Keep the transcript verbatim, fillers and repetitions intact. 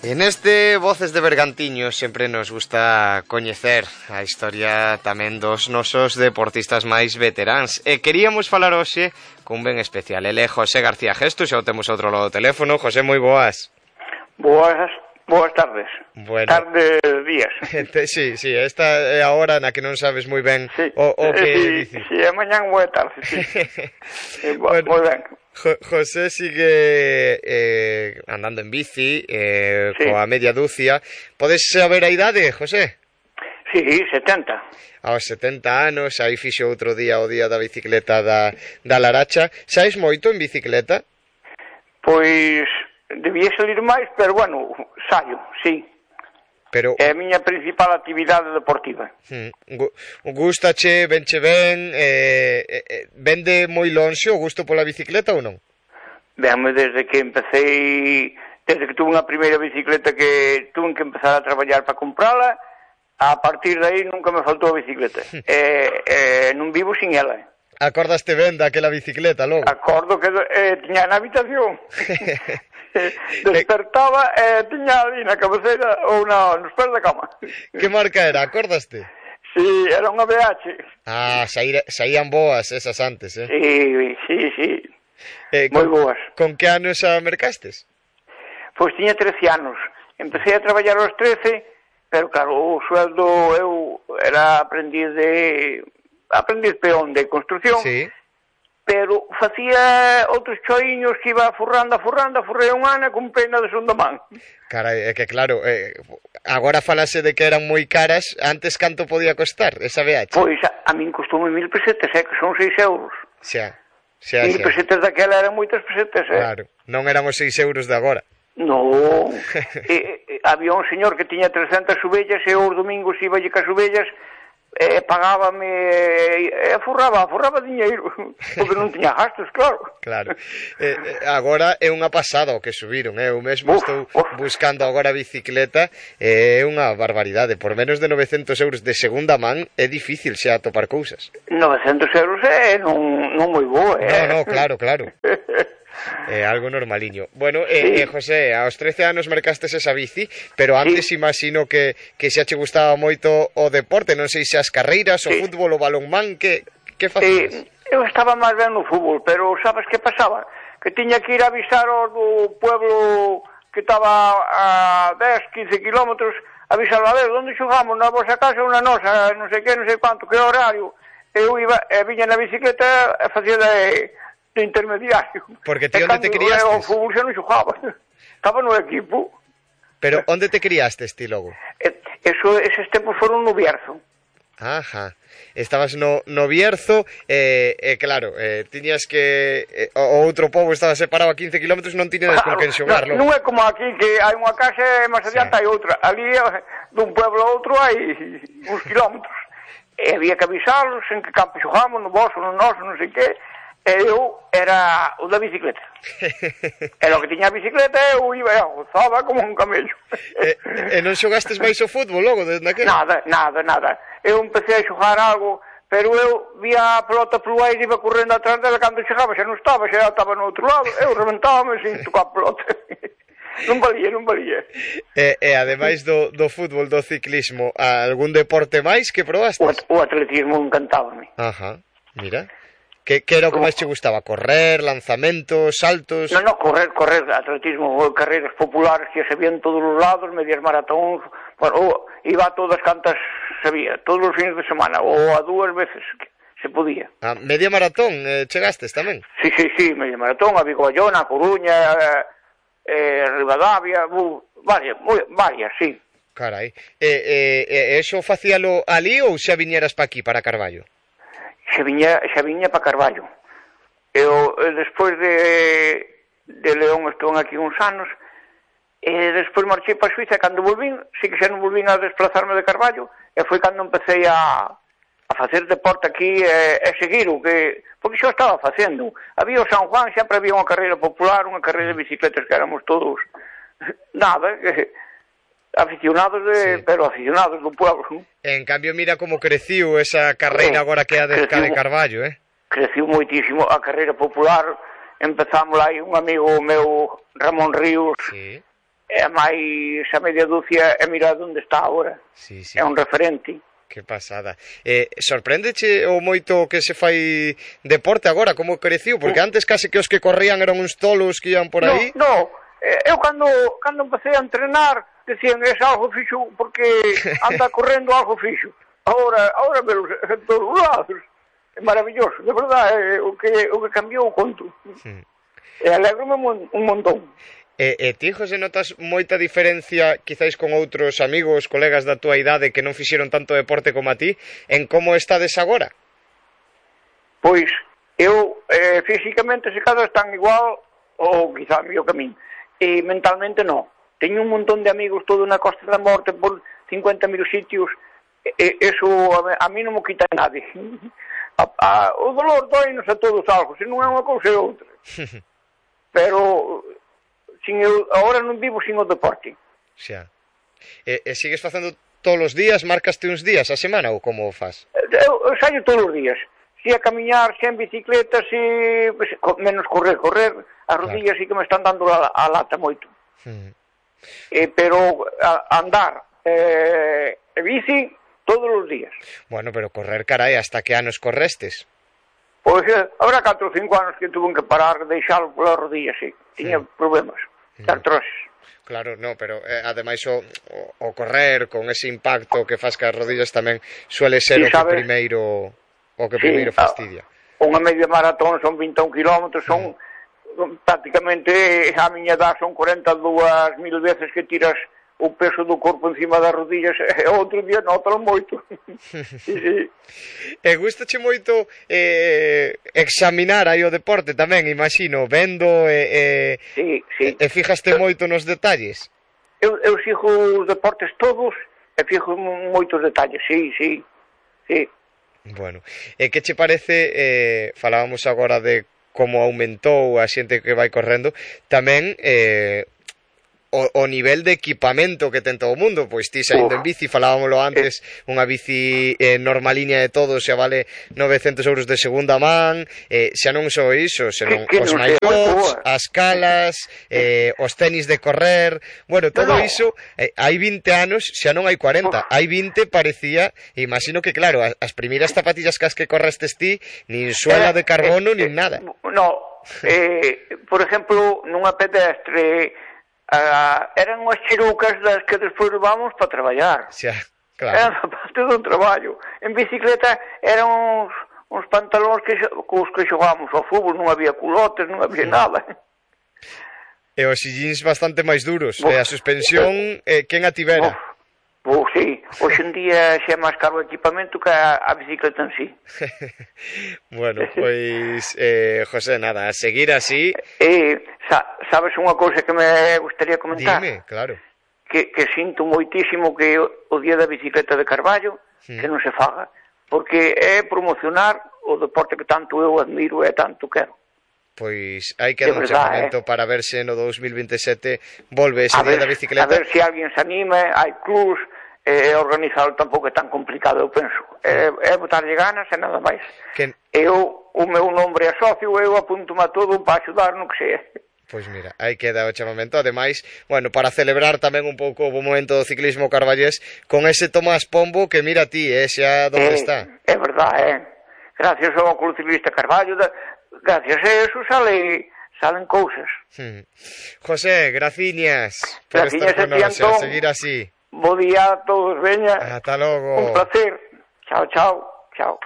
En este Voces de Bergantiño sempre nos gusta coñecer a historia tamén dos nosos deportistas máis veteráns. E queríamos falar hoxe cun ben especial. Ele é José García Gesto, xa o temos outro lado do teléfono. José, moi boas. Boas, boas tardes. Bueno. Tardes, días. Sí, sí, esta é a hora na que non sabes moi ben sí. o, o que sí, dicir. Si, sí, é mañán boa tarde, sí. Sí, bueno, moi ben. Jo- José sigue eh, andando en bici eh, sí. coa media dúcia. Podes saber a idade, José? Sí, setenta. Aos setenta anos, aí fixo outro día o día da bicicleta da, da Laracha. Saes moito en bicicleta? Pois debía salir máis, pero bueno, saio, sí. Pero é a miña principal actividade deportiva. Hmm, gustache, venche ben, eh, eh, vende moi lonxe o gusto pola bicicleta ou non? Venme desde que empecé, desde que tuve unha primeira bicicleta que tuve que empezar a traballar para comprala, a partir de aí nunca me faltou a bicicleta. eh, eh, non vivo sin ela. Acordaste ben daquela bicicleta logo? Acordo que eh, tiña na habitación. Despertaba e eh, tiña ali na cabeceira ou na, nos pés da cama. Que marca era? Acordaste? Sí, era unha B H. Ah, saíra, saían boas esas antes, eh? Sí, sí, sí. Eh, moi con, boas. Con que anos a mercastes? Pois tiña trece anos. Empecé a traballar aos trece, pero claro, o sueldo eu era aprendiz de aprendiz peón de construcción. Sí. Pero facía outros choiños que iba furrando, furrando, furrei un ano con pena de segunda man. Carai, é que claro, eh, agora falase de que eran moi caras, antes canto podía costar esa B H? Pois a, a min costoume mil pesetas, eh, que son seis euros. Xa, xa, Mil xa. pesetas daquela eran moitas pesetas, eh. Claro, non eran os seis euros de agora. Non, e, e, había un señor que tiña trescentas ovellas e os domingos iba lle cas ovellas e pagábame e forraba, forraba diñeiro porque non tiña gastos, claro. Claro. Eh, agora é unha pasada o que subiron, eh? Eu mesmo Uf, estou uf. buscando agora a bicicleta, é eh, unha barbaridade. Por menos de novecentos euros de segunda man é difícil xa atopar cousas. novecentos euros é non, non moi boa, eh? No, no, claro, claro. É eh, algo normaliño. Bueno, eh, sí. eh, José, aos trece anos mercastes esa bici, pero antes sí. Imagino que, que xa che gustaba moito o deporte, non sei se as carreiras, sí. O fútbol, o balonmán, que, que facías? Eh, eu estaba máis ben no fútbol, pero sabes que pasaba? Que tiña que ir a avisar ao do pueblo que estaba a dez, quince kilómetros, avisar a ver, onde xogamos, na vosa casa ou na nosa, non sei que, non sei quanto, que horario. Eu iba, e viña na bicicleta e facía de... de intermediario. Porque ti onde te criastes? O fútbol xa non xogaba. Estaba no equipo. Pero onde te criastes ti logo? Eso, eses tempos foron no Bierzo. Ajá. Estabas no, no Bierzo, e eh, eh, claro, eh, tiñas que... Eh, o outro pobo estaba separado a quince kilómetros, non tiñades claro, con quen xogar, non, non é como aquí, que hai unha casa e máis adiante sí. Hai outra. Ali, dun pueblo a outro, hai uns kilómetros. E había que avisarlos en que campo xogamos, no vosso, no noso, non sei que. E eu era o da bicicleta. Era o que tiña a bicicleta e eu iba e gozaba como un camello. E, e non xogastes máis o fútbol logo desde aquel? Nada, nada, nada. Eu empecé a xogar algo, pero eu vía a pelota polo aire e iba correndo atrás dela cando chegaba, xa non estaba, xa estaba no outro lado. Eu reventábame sin tocar a pelota. Non valía, non valía. E, e ademais do, do fútbol, do ciclismo, algún deporte máis que probastes? O, o atletismo encantábame. Ajá, mira. Que, que era o que máis che gustaba? Correr, lanzamentos, saltos? Non, non, correr, correr, atletismo, carreiras populares que se vían todos os lados, medias maratóns, bueno, iba a todas cantas sabía, todos os fines de semana, ou a dúas veces que se podía. Ah, media maratón, eh, chegastes tamén? Sí, sí, sí, media maratón, a Vigo Bayona, a Coruña, eh, Ribadavia, uh, varias, muy, varias, sí. Carai, e eh, eh, eso facíalo ali ou xa viñeras pa aquí, para Carballo? Xa viña, xa viña para Carballo. Eu, despois de, de León, estou aquí uns anos, e despois marchei para Suiza, cando volvín, sí que xa non volvín a desplazarme de Carballo, e foi cando empecé a, a facer deporte aquí e, e seguir o que... Porque xa estaba facendo. Había o San Juan, sempre había unha carreira popular, unha carreira de bicicletas que éramos todos... Nada, que... aficionados de, sí. Pero aficionados do pueblo. En cambio, mira como creciu esa carreira agora que é a de, de Carballo, eh? Creciu moitísimo a carreira popular. Empezamos aí un amigo meu, Ramón Ríos, sí. e a máis a media dúcia e mira onde está agora. Sí, sí. É un referente. Que pasada. Eh, sorpréndeche o moito que se fai deporte agora, como creciu? Porque antes case que os que corrían eran uns tolos que ian por aí. No, no. Eu cando, cando empecé a entrenar decían, es algo fixo porque anda correndo algo fixo. Ahora, ahora velos en todos os lados. É maravilloso, de verdade, é o que, o que cambiou o conto. Hmm. E alegro-me un, un montón. E, e ti, José, notas moita diferencia quizáis con outros amigos, colegas da túa idade que non fixeron tanto deporte como a ti en como estades agora? Pois, eu eh, físicamente se cada están igual ou quizá mellor que a min, e mentalmente non. Teño un montón de amigos todo na Costa da Morte por cincuenta mil sitios, e, eso a, a mí non me quita nadie. A, a, o dolor doinos a todos algo, se non é unha cousa é outra. Pero sin eu, agora non vivo sin o deporte. Xa. E, e sigues facendo todos os días, marcaste uns días a semana ou como faz? Eu, eu saio todos os días. Si a camiñar, si en bicicleta, si pues, menos correr, correr, as rodillas claro. Sí que me están dando a, a lata moito. Hmm. Eh, pero a, andar eh, e bici todos os días. Bueno, pero correr, carai, hasta que anos correstes? Pois eh, ahora catro ou cinco anos que tuve que parar, deixalo polas rodillas, sí. Tiña hmm. problemas. Artrosis. Claro, no, pero eh, ademais o, o, o correr con ese impacto que faz que as rodillas tamén suele ser sí, o que primeiro o que sí, primeiro fastidia. Unha media maratón son vinte e un kilómetros, son mm. prácticamente a miña edad son cuarenta e dúas mil veces que tiras o peso do corpo encima das rodillas e outro día notalo moito. Sí, sí. E gustache moito eh, examinar aí o deporte tamén, imagino, vendo e, e, sí, sí. e fijaste moito nos detalles? Eu, eu fijo os deportes todos e fijo moitos detalles, sí, sí, sí. Bueno, e que che parece, eh, falábamos agora de como aumentou a xente que vai correndo, tamén eh, O, o nivel de equipamento que ten todo o mundo, pois ti saindo en bici, falábamoslo antes, unha bici eh, normaliña de todo, xa vale novecentos euros de segunda man, eh, xa non só iso, senón os maicots, as calas, eh, os tenis de correr, bueno, todo iso, eh, hai vinte anos, xa non hai cuarenta, hai vinte parecía, imagino que claro, as, as primeiras zapatillas cas que correstes ti, nin suela de carbono, nin nada. No, eh, por exemplo, nunha pedestre, Uh, eran unhas chirucas das que despois vamos para traballar. Xa, claro. Era parte do traballo. En bicicleta eran uns, uns pantalóns que, cos que xogábamos ao fútbol, non había culotes, non había nada. E os sillíns bastante máis duros, e a suspensión, eh, quen a tivera? Pois sí, hoxe en día xa é máis caro o equipamento que a, a bicicleta en sí. Bueno, pois, eh, José, nada, a seguir así... Eh, sa, sabes unha cousa que me gustaría comentar? Dime, claro. Que, que sinto moitísimo que o día da bicicleta de Carballo hmm. que non se faga, porque é promocionar o deporte que tanto eu admiro e tanto quero. Pois hai que dar un chamamento eh? para ver se no dos mil veintesete volve ese a día ver, da bicicleta. A ver se alguén se anime, hai clubs, eh, organizado tampouco é tan complicado, eu penso. É, é botarlle ganas e nada máis. Que... Eu, o meu nombre é socio, eu apunto-me a todo para axudar no que sea. Pois mira, aí queda o chamamento. Ademais, bueno, para celebrar tamén un pouco o momento do ciclismo carballés con ese Tomás Pombo que mira ti, eh, xa onde eh, está. É verdade, eh. Gracias ao Club Ciclista Carballo, da... gracias a eso sale, salen cousas. Hmm. José, graciñas por graciñas estar con nós, a seguir así. Bo día a todos, veña. Ata logo. Un placer. Chao, chao, chao.